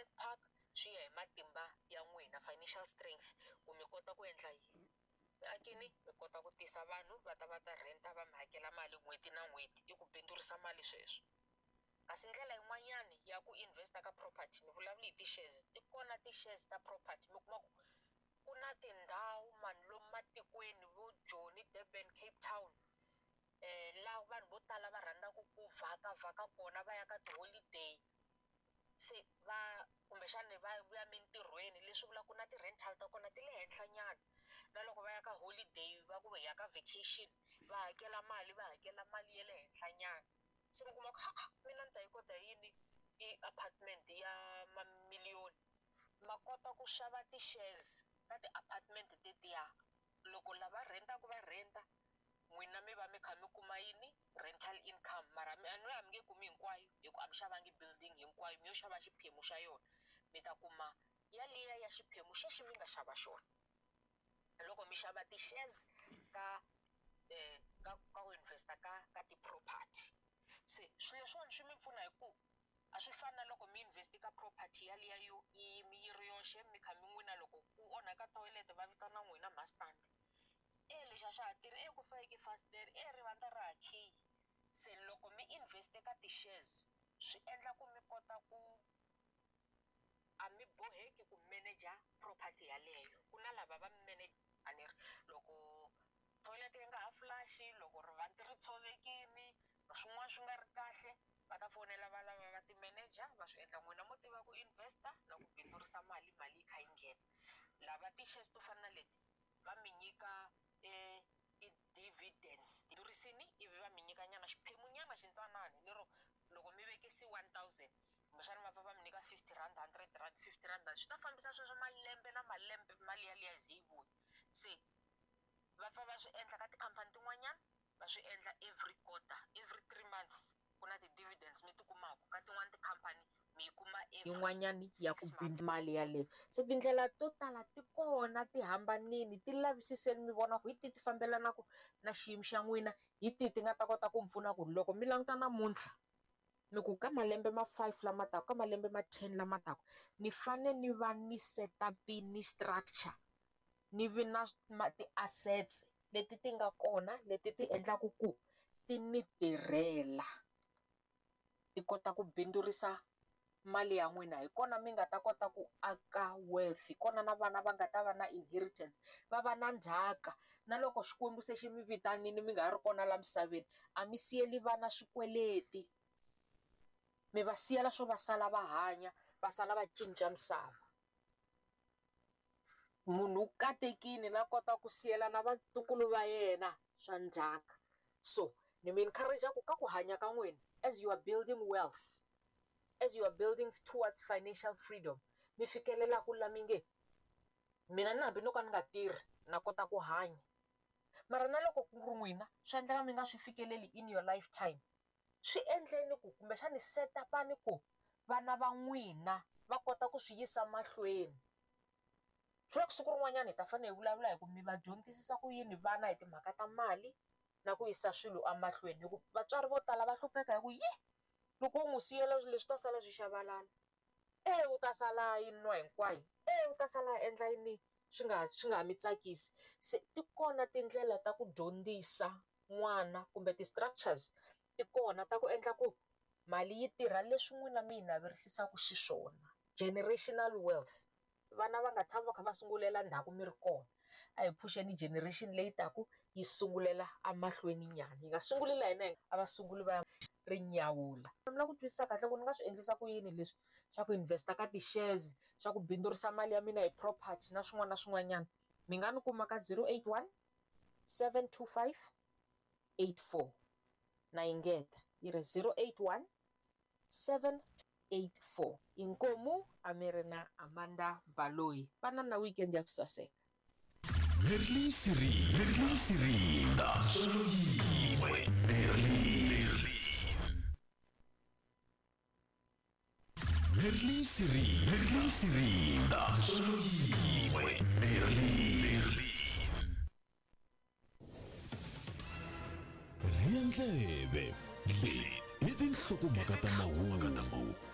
Business park, swi ya hi matimba ya n'wina, financial strength, ku mi kota ku endla yini. Mi akini mi kota ku tisa vanhu va ta va ta rent-a, va mi hakela mali n'hweti na n'hweti, i ku bindzurisa mali sweswo. Kasi ndlela yin'wanyani ya ku invest-a ka property, ni vulavula hi ti-shares, ti kona ti-shares ta property. Mi kuma ku ku na tindhawu mani lomu matikweni vo Joni, Durban, Cape Town, laha vanhu vo tala va rhandzaka ku vhakavhaka kona, va ya ka ti-holiday, se va kumbexani va vuya mintirhweni, leswi vulaka ku na ti-rental ta kona ti le henhla nyana. Na loko va ya ka holiday, va ku hi ya ka vacation, va hakela mali, va hakela mali ya le henhla nyana. Se mi kuma ku ha mina ni ta yi kota yini i apartment ya mamiliyoni? Ma kota ku xava ti-shares ka ti-apartment tetiya, loko lava rent-aka va rent-a, n'wina mi va mi kha mi kuma yini? Rental income. Mara mi a ni a mi nge kumi hinkwayo, hi ku a mi xavangi building hinkwayo, mi yo xava xiphemu xa yona. Mi ta kuma yaliya ya xiphemu xexi mi nga xava xona loko mi xava ti-shares ka ku invest-a ka ti-property. Se swilo leswiwani swi mi pfuna hi ku a swi fani na loko mi invest ka property yaliya yo yi yi ri yoxe, mi kha mi n'wina loko ku onhaka toilet va vitana n'wina mastand, e lexi a xa ha tirhi, e ku fayeke fasitere, e rivandla ra ha khiyi. Se loko mi invest ka ti-shares, swi endla ku mi kota ku a mi boheki ku manager property yaleyo, ku na lava va manage. A ni ri loko toilet yi nga ha flush, loko rivanti ri tshovekini, swin'wana swi nga ri kahle, va ta fonela va lava va ti-manager va swi endla. N'wina mo tiva ku invest-a na ku bindzurisa mali, mali yi kha yi nghena. Lava ti-shares to fana na leti va mi nyika ti-dividends bindurisini, ivi va mi nyika nyana xiphemu nyana xintsanani, lero loko mi vekisi 1000, kumbexana va pfa va mi nyika 50 rand, 100 rand, 50 rand, swi ta fambisa sweswo malembe na malembe, mali yaliya yi ze yi vuya. Se va pfa va swi endla ka tikhampani tin'wanyana, va swi endla every quarter, every 3 months ku na ti-dividends mi ti kumaka. Ka tin'wani tikhampani mi yi kuma yin'wanyani ya ku 6 months. Bindzu mali yaleyo. Se tindlela to tala ti kona, ti hambanini, ti lavisiseni mi vona ku hi tihi ti fambelanaka na xiyimo xa n'wina, hi tihi ti nga ta kota ku mi pfuna ku loko mi languta namuntlha mi ku ka malembe ma 5 lama taka, ka malembe ma 10 lama taka, ni fane ni va ni set-up-ini structure, ni vi na ti-assets leti ti nga kona, leti ti endlaka ku ti ni tirhela, ti kota ku bindzurisa mali ya n'wina. Hi kona mi nga ta kota ku aka wealth, hi kona na vana va nga ta va na inheritance, va va na ndzhaka. Na loko Xikwembu se xi mi vitanile mi nga ha ri kona la misaveni, a mi siyeli vana swikweleti, mi va siyela swo va sala va hanya, va sala va cinca misava. Munhu u katekile la kota ku siyela na vatukulu va yena swa ndzhaka. So ni mi encourage ku ka ku hanya ka n'wina, as you are building wealth, as you are building towards financial freedom, mi fikelela ku la mi nge mina na hambi no ka ni nga tirhi na kota ku hanya. Mara na loko ku ri n'wina swi endleka mi nga swi fikeleli in your lifetime, swi endleni ku kumbexani set up-ani ku vana va n'wina va kota ku swi yisa mahlweni. Swi vula ku siku rin'wanyana hi ta fanele hi vulavula hi ku mi va dyondzisisa ku yini vana hi timhaka ta mali na ku yisa swilo emahlweni, hi ku vatswari vo tala va hlupheka hi ku yi loko wo n'wi siyela swilo leswi ta sala swi xavalala, e u ta sala yi nwa hinkwayo, e u ta sala a endla yini swi nga ha mi tsakisi. Se ti kona tindlela ta ku dyondzisa n'wana, kumbe ti-structures ti kona ta ku endla ku mali yi tirha leswi n'wina mi yi naverisisaka xiswona, generational wealth. Vana va nga tshami va kha va sungulela ndzhaku mi ri kona. A hi pfuxeni generation leyi taku yi sungulela emahlweni nyana, yi nga sunguli la hina a va sunguli va ya ri nyawula. Mi lava ku twisisa kahle ku ni nga swi endlisa ku yini leswi swa ku invest-a ka ti-shares, swa ku bindzurisa mali ya mina hi property na swin'wana na swin'wanyana, mi nga ni kuma ka 081 725 84. Na engeta yi ri 081 784. Inkomu, a mi ri na Amanda Baloyi. Vana na weekend ya ku saseka. Merlin Siri, Merlin Sirinda, Solo yin'we, Merlin, Merlin. Merlin Siri, Merlin Sirinda, Solo yin'we, Merlin, Merlin. Rhiya ndleve, leti i tinhlokomhaka ta mahungu.